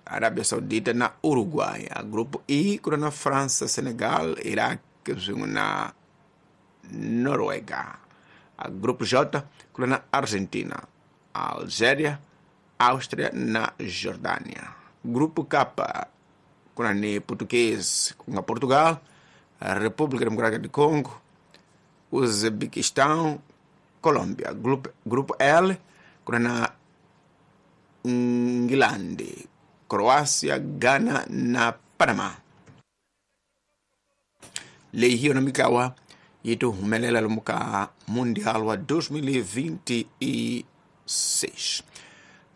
Arábia Saudita na Uruguai. A grupo I ku ri na França, Senegal, Iraq swin'we na Noruega. A grupo J ku ri na Argentina, Algéria, Áustria na Jordânia. Grupo K ku na ni Português ku nga Portugal, República Democrática do Congo, Uzbequistão, Colômbia. Grupo L ku na Ingilandi, Croácia, Ghana na Panama. Leyi hi yona mintlawa yi ti humelela lomu ka Mundial wa 2026.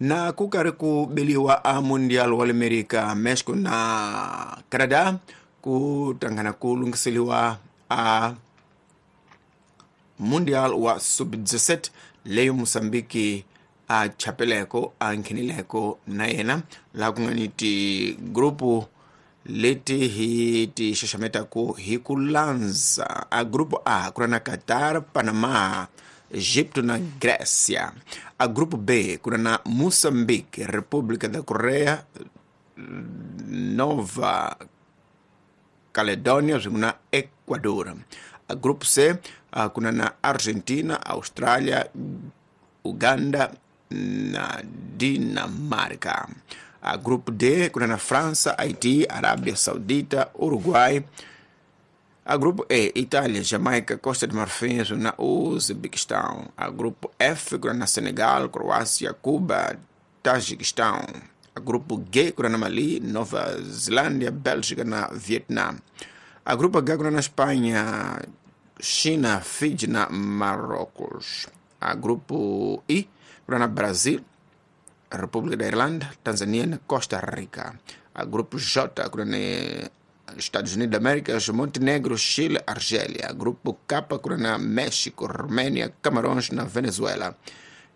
Na ku karhi ku beliwa a Mundial wa le Amerika, Mexico na Canada ku tangana ku lunghiseliwa a Mundial wa Sub-17 leyi Mozambique a chapeleko a nghenileko na yena, laha ku nga ni tigrupu leti hi ti xaxametaku hi ku landza. A grupo A ku ri na Qatar, Panama, Egipto na Grécia. A grupo B ku ri na Moçambique, República da Coreia, Nova Caledônia swin'we na Ecuador. A grupo C ku na na Argentina, Austrália, Uganda na Dinamarca. A grupo D ku na na França, Haiti, Arábia Saudita, Uruguai. A grupo E, Itália, Jamaica, Costa de Marfim na Uzbequistão. A grupo F, ku na Senegal, Croácia, Cuba, Tajiquistão. A grupo G, ku na Mali, Nova Zelândia, Bélgica na Vietnã. A grupo H, ku na Espanha, China, Fiji na Marrocos. A grupo I, ku na Brasil, República da Irlanda, Tanzânia na Costa Rica. A grupo J, ku na Estados Unidos da América, Montenegro, Chile, Argélia. Grupo K, ku na México, Romênia, Camarões na Venezuela.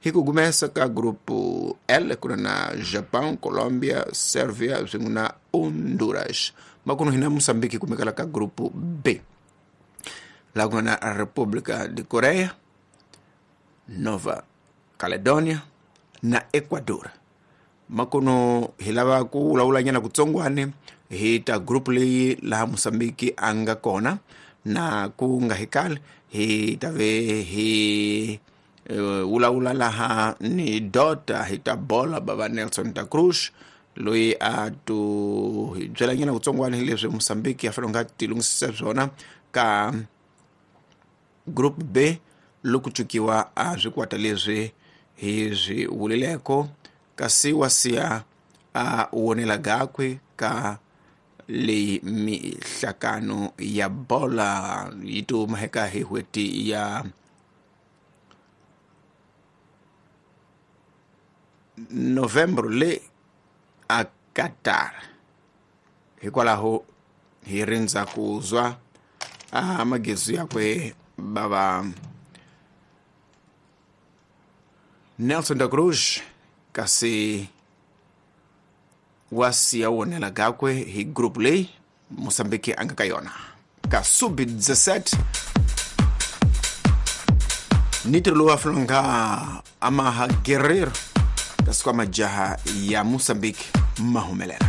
Hi ku começa ka grupo L, ku na Japão, Colômbia, Sérvia swin'we na Honduras. Makuno hina Moçambique kumekala ka grupo B. Laha ku nga na República de Coreia, Nova Caledônia na Ecuador. Makuno hi lava ku vulavulanyana kutsongwani hi ta group leyi laha Mozambique a nga kona, na ku nga hi kale hi ta ve hi vulavula laha ni dota hi ta bola bava Nelson da Cruz, loyi a tu hi byelanyana kutsongwani hi leswi Mozambique ya fanele nga ti lunghisisa swona ka group B loko cukiwa a swikwata leswi hi swi vulileko, kasi wa siya a wonela gakwe ka leyi mihlakano ya bola yi ti humeka hi n'hweti ya November le a Qatar. Hikwalaho hi rindza ku zwa a magezi yakwe bava Nelson da Cruz, kasi wa siya wonela gakwe hi group leyi Mozambique a nga ka yona ka sub-17. Ntirho lowu a fanele nga amaha Guerreiro, kasi kwa majaha ya Moçambique ma humelela.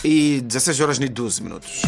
E 16 horas e 12 minutos.